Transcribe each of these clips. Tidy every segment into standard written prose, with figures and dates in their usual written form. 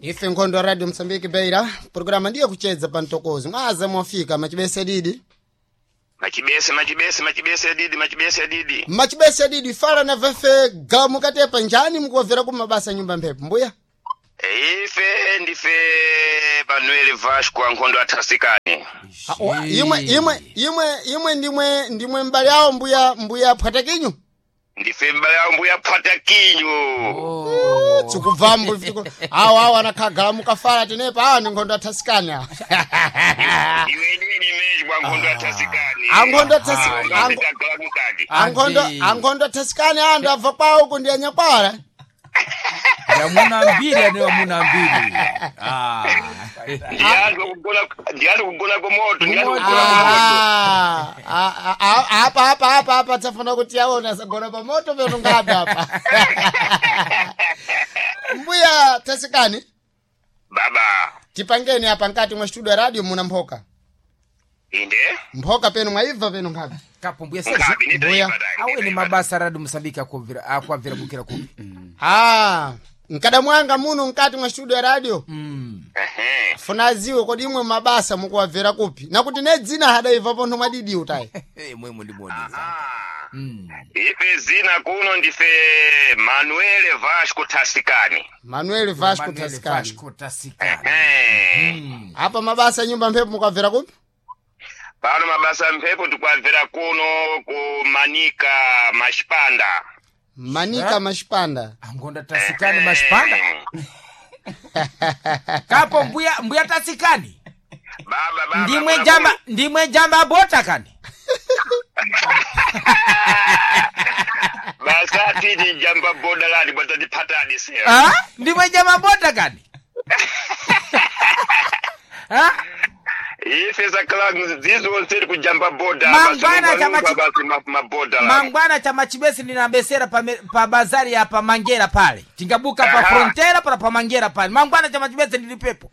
Ife nkhondo ya Radio Msambiki Beira, programa ndiyo kuchedza pa mtokozi. Mwaza mwafika machibese didi. Machibese, machibese, machibese didi, machibese didi. Machibese didi fala na vefe gamu katepa njani mukuwavera ku mabasa nyumba mphepo mbuya. Ife ndife Manuel Vasco ankhondo athasikani. Imwe imwe imwe imwe ndimwe ndimwe mbali yawo mbuya mbuya phwatakinyu. Ndife mbali yawo mbuya phwatakinyu. Tsikubvambo ifitiko. Awo awo anakhagala mukafala tenepa awa ndi nkhondo athasikani awa. Iwe nini meji bwa nkhondo athasikani. Ankhondo athasikani. Ankhondo ankhondo athasikani andu abva kwawo kundi anyakwala. Amuna mbiri ane amuna mbiri. Ah. Ndiyani kugona kumoto, ndiyani kugona kumoto. Apa apa apa apa tsafuna kuti aona sagona pamoto peno ngapi apa. Mbuya tasikani. Baba. Tipangeni apa nkati mwa studio ya radio muna mphoka. Inde? Mphoka peno mwaibva peno ngapi. Kapo mbuya sasa. Mbuya. Awe ni mabasa radio Msambiki akwabvira akwabvira bukira kupi. Ah, nkada mwanga muno nkati mwa studio ya radio. Funa aziwe kodi imwe mabasa mukuwabvera kupi. Nakuti ne dzina hadaibva pontho mwadidi utayi. Mwe mundiboneza. Ife zina kuno ndife Manuel Vasco Tasikani. Manuel Vasco Tasikani. Vasco Tasikani. Apa mabasa nyumba mphepo mukuwabvera kupi? Pano mabasa mphepo tikuwabvera kuno ku Manika Mashipanda. Manika Mashipanda. Angonda Tasikani Mashipanda. Kapo mbuya mbuya Tasikani. Baba baba. Ndimwe jamba ndimwe jamba bota kani. Basati ni jamba boda lani bwatandiphatani sera. Ah? Ndimwe jamba bota kani. Ah? Ife zakhala zizonse kujamba boda. Mangwana chama basi maboda lani. Mangwana chama chibesi ninabesera pa, pa bazari ya pa Mangera pale. Tingabuka pa frontera para pa Mangera pale. Mangwana chama chibesi ndilipepo.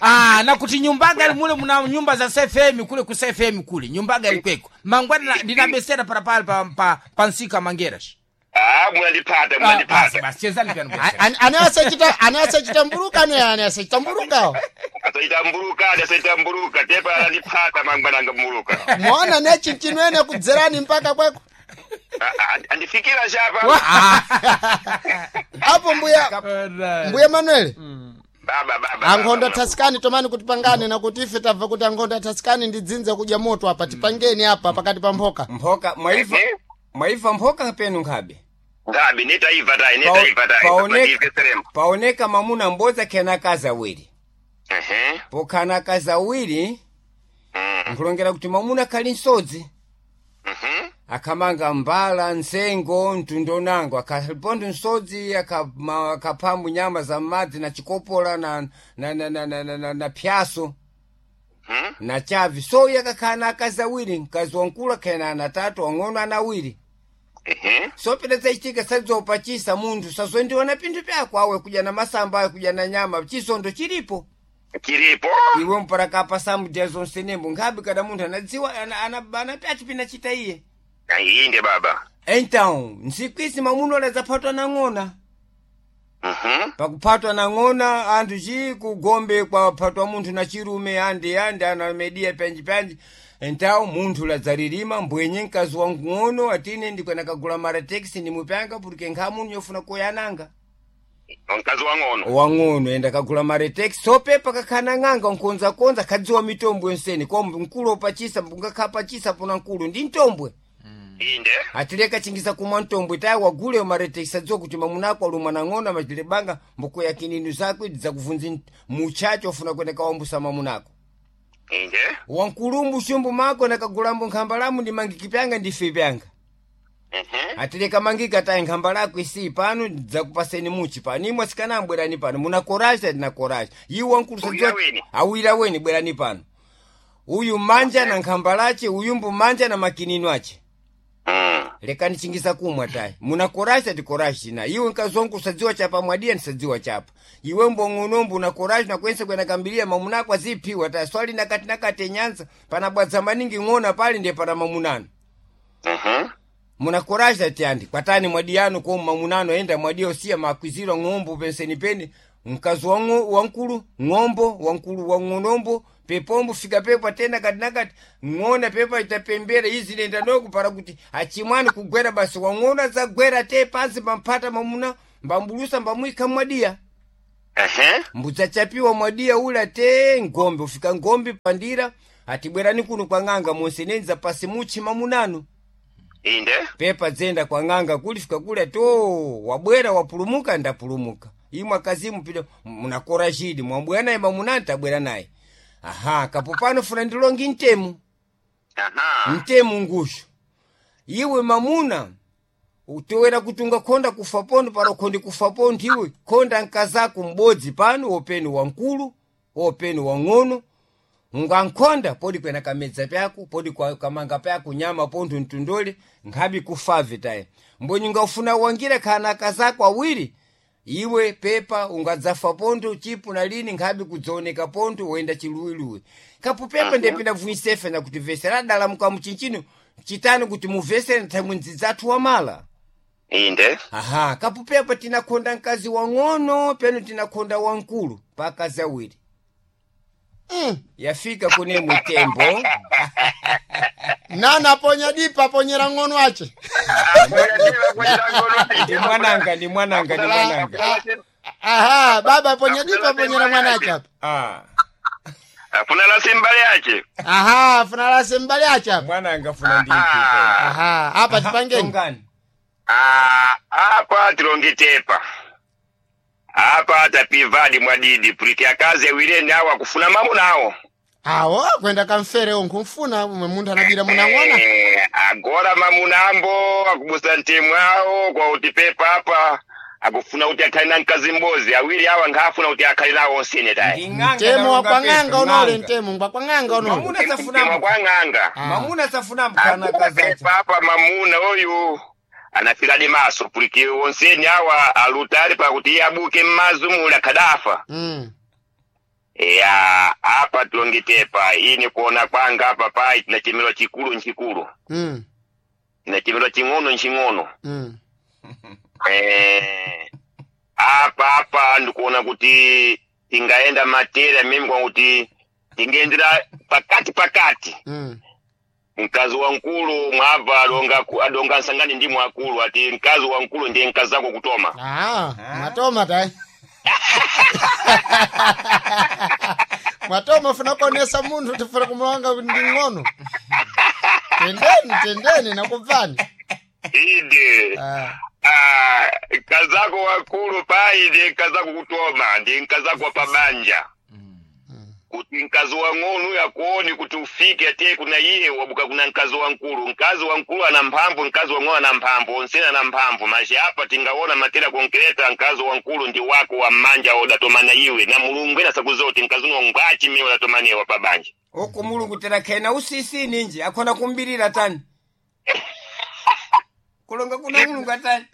Ah, na kuti nyumbaga ali mule muna nyumba za CFM kule ku CFM kule. Nyumbaga alikweko. Mangwana ndinabesera para pale pa pa, pa nsika Mangera. Ah, mwandipata mwandipata. Basi chezani pia nubesera. Ane asachita ane asachita mburuka ane ane asachita mburuka. Asaita mburuka, asaita mburuka, tepa andipata mangwana mburuka. Mwaona ne chinchimene kudzerani mpaka kweko. Andifikira chapa. Apo mbuya mbuya Manuel. Baba baba. Ankhondo athasikani tomani kuti pangane nakuti ife tabva kuti ankhondo athasikani ndidzinze kudya moto apa tipangeni apa pakati pa mphoka. Mphoka mwaiva mwaiva mphoka penu nkhabe. Ngabe nitaiva tayi nitaiva tayi. Paoneka mamuna mbodza khena akazi awiri. Pokhana akazi awiri nkulongera kuti mamuna khali nsodzi. Akhamanga mbala nsengo mtundu nango akhaponda nsodzi akaphambu nyama za madzi na chikopola na na na na na, na, na, na pyaso na chavi so iye akakhala na akazi awiri mkazi wankulu akhena ana atatu wang'ono ana awiri. So pita zachitika sadzopachisa munthu sazondiona pinthu pyako awe kudya na masamba awe kudya na nyama chisondo chilipo chilipo iwe mparakapa samudya zonse nembo nkhabe kada munthu anadziwa anapyacho pinachita iye inde baba. Então ntsiku isi mamuno aladzaphatwa na ng'ona. Pakuphatwa na ng'ona anthu chi kugombe kwaphatwa munthu na chirume andi andi anamedia panji panji. Então munthu ladzalilima mbwenye mkazi wa ng'ono atine ndikwanakagula marateksi ndimupyanga porque nkha munthu yofuna kuyananga. Mkazi wa ng'ono. Wang'ono enda kagula maretex sopepa kakhana ng'anga nkonzakonza khadziwa mitombo yonseni kombe mkulu opachisa ungakhapachisa pona mkulu ndi mtombwe. Inde. Atileka chingiza kumwa mtombwe tayi wagule maretex adziwa kuti mamunako alumwa na ng'ono amachilebanga mbuko kininu zako idzi zakuvunzi muchacho ofuna kwenda kawambusa mamunako. Inde. Wankulumbu shumbu mako nakagulambo nkhamba lamu ndimangikipyanga ndife pyanga. Atileka mangika tayi nkhamba lako isi pano dzakupaseni muchi pano imwe asikana bwerani pano muna koraja ndina koraja iwo wankulu Awira weni. awira weni bwerani pano uyu manja na nkhamba lache uyumbu manja na makinino ache. Lekani chingisa kumwa tayi muna koraja ti koraja na iwe nkazongu usadziwa chapa mwadiya ndisadziwa chapa iwe mbong'onombu una koraja nakwense kwena kambilia mamunako aziphiwa tayi swali nakati nakati nyanza panabwadza maningi ng'ona pali ndiye pana mamunano. Munakoraja tiandi kwatani mwadiyano ko mamunano enda mwadiyo siya makwizirwa ng'ombo penseni peni mkazi wankulu ng'ombo wankulu wang'onombo pepombo fika pepa tena kati nakati ng'ona pepa itapembera izi nenda noku para kuti achimwani kugwera basi wang'ona zagwera te pansi pamphata mamuna mbambulusa mbamwika mwadiya. Ehe. Mbudzachapiwa mwadiya ula te ngombe ufika ngombe pandira atibwerani kuno kwa ng'anga monsenenza pasi muchi mamunano. Inde. Pepa dzenda kwa ng'anga kulifika kule to wabwera wapulumuka ndapulumuka imwe akazimu pita munakora chidi mwabwera naye mamunani tabwera naye aha kapo pano funa ndilongi ntemu. Aha. Ntemu ngushu iwe mamuna utowera kutunga khonda kufa pondo pano khondi kufa pondo iwe khonda nkazako m'bodzi pano wopeni wankulu wopeni wang'ono ungankhonda podi kwena kamedza pyako podi kwa kamanga pyako nyama pontho mtundole nkhabi kufave taye mbonyi ungafuna wangira khana akazako awiri iwe pepa ungadzafa pontho chipu na lini nkhabi kudzaoneka pontho woyenda chiluwiluwi kapo pepa ndepinda vuisefe na kuti vese radala mukamuchinchino chitani kuti muvesere nthamwe ndzidzathu wamala. Inde. Aha kapo pepa tinakhonda mkazi wang'ono peno tinakhonda wankulu pa akazi awiri. Yafika kune mutembo. Nana aponya dipa aponyera ng'ono ache. Ndi mwananga ndi mwananga ndi mwananga. Aha baba aponya dipa aponyera mwana ache apa. Ah. Afuna la simbali yache. Aha funa lase mbali ache apa. Mwananga funa ndi ipi. Aha apa tipangeni. Tongani. Ah, apa tilongitepa apa tapivadi mwadidi puliti akazi awireni awo akufuna mamunawo. Awo kwenda kamfere nkumfuna umwe munthu anabira munang'ona. Agora mamunambo akubusa ntemu awo kwa kuti pepa apa akufuna kuti akhale na mkazi m'bodzi awiri awa nkhafuna kuti akhale nawo onsene tayi. Ndi ng'anga Mtemo wa nalonga kwang'anga pepa, unole ng'anga. mtemo ngwa kwang'anga unole. Mamuna Mtemo safunambo. kwa ng'anga. Mamuna safunambo kana Agora kazacha. pepa apa mamuna oyu anafiradi maso puliki onseni awa alutali pakuti iye abuke mmazu muli akhadafa. Ya apa tilongitepa ini kuona kwanga apa pai tinachemera chikulu nchikulu. Tinachemera ching'ono nching'ono. Apa apa ndikuona kuti tingaenda matera mimi kwakuti tingaendera pakati pakati. Mkazi wa nkulu mwabva adonga adonga nsangani ndi mwakulu ati mkazi wa nkulu ndiye mkazi wako kutoma. Ah, mwatoma tai. Mwatoma funa kuonesa munthu tifuna kumulonga kuti ndi ng'ono. Tendeni tendeni nakubvani. Inde. Ah. Ah, mkazako wakulu pai ndiye mkazako kutoma ndiye mkazako wa pabanja. Kuti mkazi wa ng'ono yakuoni kuti ufike atiye kuna iye wabuka kuna mkazi wa nkulu. Mkazi wa nkulu ana mphamvu mkazi wa ng'ono ana mphamvu onsene ana mphamvu mashi apa tingaona matera konkreta mkazi wa nkulu ndi wako wa mmanja odatomana iwe na mulungu ena sakuzoti mkazi uno ngwachi miwe odatomaniwa pabanja. Oko mulungu tera khena usisi ninji akhona kumbirira tani. Kulonga kuna mulungu atani.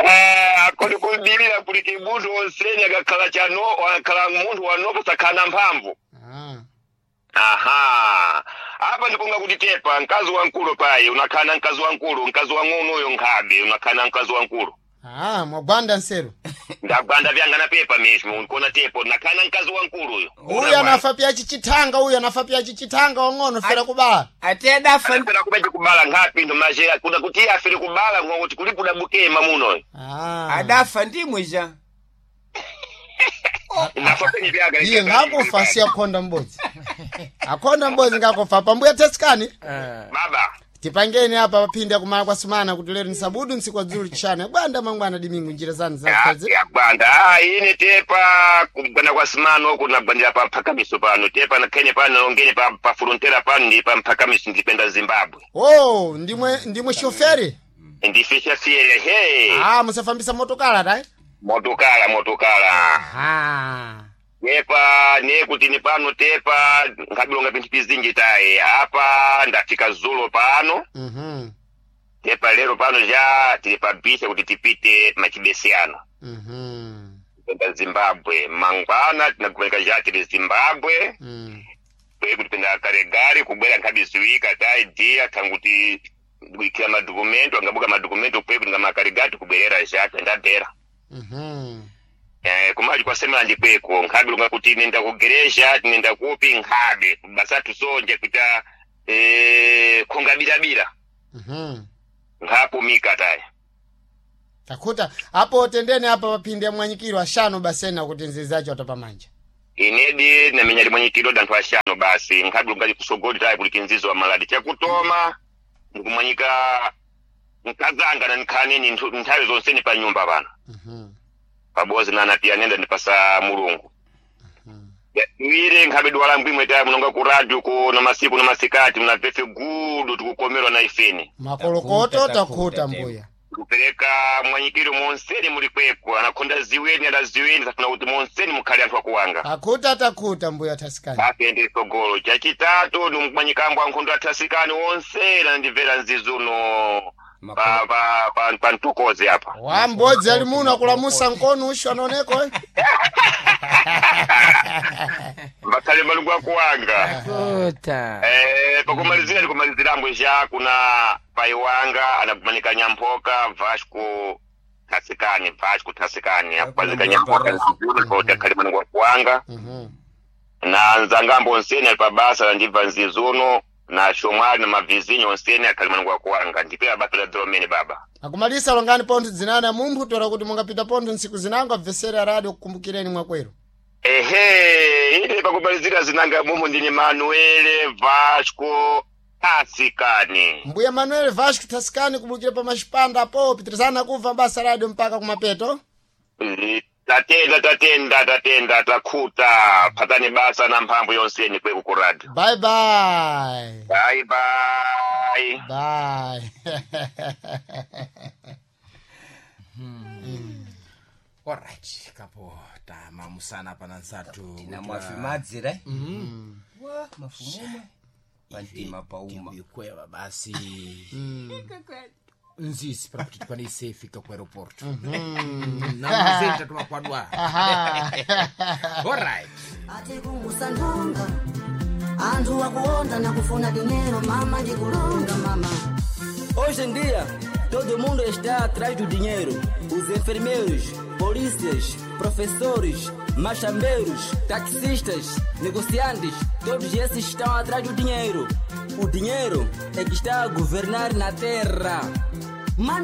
Ah, akoni kumbirira kuti munthu onsene akakhala chano akakhala munthu wanopo sakhala na mphamvu. Ah. Aha. Apa ndikunga kuti tepa mkazi wa nkulu pai unakhala na mkazi wa nkulu mkazi wa ng'ono uyo nkhabe unakhala na mkazi wa nkulu. Ah, mwagwanda nseru. Ndagwanda vyanga na pepa mismo unkona tepo nakhala na mkazi wa nkulu uyo. Uyu anafa pya chichithanga uyu anafa pya chichithanga wang'ono fera kubala. Ate adafa Afera kubeje kubala nkhapi ndo majera kuda kuti afere kubala ngokuti kuli kudabuke mamuno. Ah. adafa ndimwe ja. Nafa penye vyaga. Iye ngakufa si akhonda mbodzi. Akhonda mbodzi ngakufa pambuya tesikani. Baba. Tipangeni apa paphindi akumala kwa sumana kuti lero ni sabudu ntsiku wa dzulu chishanu yagwanda mangwana dimingu njira zanu zakhazi. Yagwanda ah ine tepa kugwanda kwa simano uku nagwandira pa mphakamiso pano tepa nakhene pano nalongene pa pa frontera pano ndi pa mphakamiso ndipenda Zimbabwe. Oh, ndimwe shoferi. Ndifisha fiele he. Ah, musafambisa motokala tai. Motokala motokala. Ah. Tepa nekuti ni pano tepa nkabilonga pinthu pizinji tayi apa ndafika zulo pano. Tepa lero pano ja tili pabisa kuti tipite machibesiyano. Kupenda Zimbabwe mangwana tinakupereka ja tili Zimbabwe. Kwe kuti penda kale gari kubwera nkhabiziwika tayi dia tanguti Kuikira madokumento angabuka madokumento kweku nga makarigati kubwerera zhaka ndabhera. Kumali kwasemera ndikweko nkhabe lunga kuti nenda kugereja nenda kupi nkhabe basa tusonje kuita khongabirabira. Nkhapumika taya. Takhuta apo tendene apa paphindi ya mwanyikiro ashanu basena kuti nzizacho atapamanja. Inedi namenya limwanyikiro danthu ashanu basi nkhabe lunga kusogoli taya kuli kinzizo wa maladi chakutoma ndikumwanyika nkazanga na nkhaneni nthawi zonseni pa nyumba pano. Pabozi nana pia nenda ndipasa mulungu. Iwire nkhabe dwala mbwimwe taya munonga ku radio ku na masiku na masikati muna pefe gudu tikukomerwa na ifeni. Makolokoto Takhuta, takhuta mbuya. Kupereka mwanyikiro monseni muli kwekwe anakhonda ziweni adaziweni tafuna kuti monseni mukhale anthu akuwanga. Takhuta takhuta mbuya thasikani. Apende sogolo chachitatu ndimkumwanyikambo ankhondo athasikani onse nandimvera nzizuno pa pa pa pa mtukozi apa. Wa mbodzi ali muno akulamusa nkono usho anaoneko eh? Mbakhale malungu akuwanga. Kuta. Pakumalizira ndikumalizirambo ja kuna pai wanga anakumanika Nyampoka Vasco Thasikani Vasco Thasikani akupazika Nyampoka kuti akhale malungu akuwanga. Na nzangambo onseni ali pabasa landibva nzizuno na shomwali na mavizinyo onseni akhale malungu akuwanga ndipera basa la dzolomene baba. Akumalisa longani pontho dzinana mumphu tola kuti mungapita pontho ntsiku zinango abvesera radio kukumbukireni mwakwero. Ehe, ine pakumalizira zinanga mumu ndine Manuele Vasco Thasikani. Mbuya Manuel Vasco Thasikani kubukira pa maxipanda apo pitirizana kubva basa radio mpaka kumapeto. Tatenda tatenda tatenda takhuta phatani basa na mphamvu yonseni kweku ku radio. Bye bye. Bye bye. Bye. Alright, kapo tamamusana pana nsatu. Na mwafimadzira wa mafumumwe pantima pauma. Ikweva basi. Nzisi para kuti tikwanise fika ku aeroporto. Namazenta tumakwadwa. Alright. Atikumbusa ndonga anthu akuonda na kufuna dinheiro mama ndikulonga mama. Hoje em dia, todo mundo está atrás do dinheiro. Os enfermeiros, polícias, professores, machambeiros, taxistas, negociantes, todos esses estão atrás do dinheiro. O dinheiro é que está a governar na terra. Manda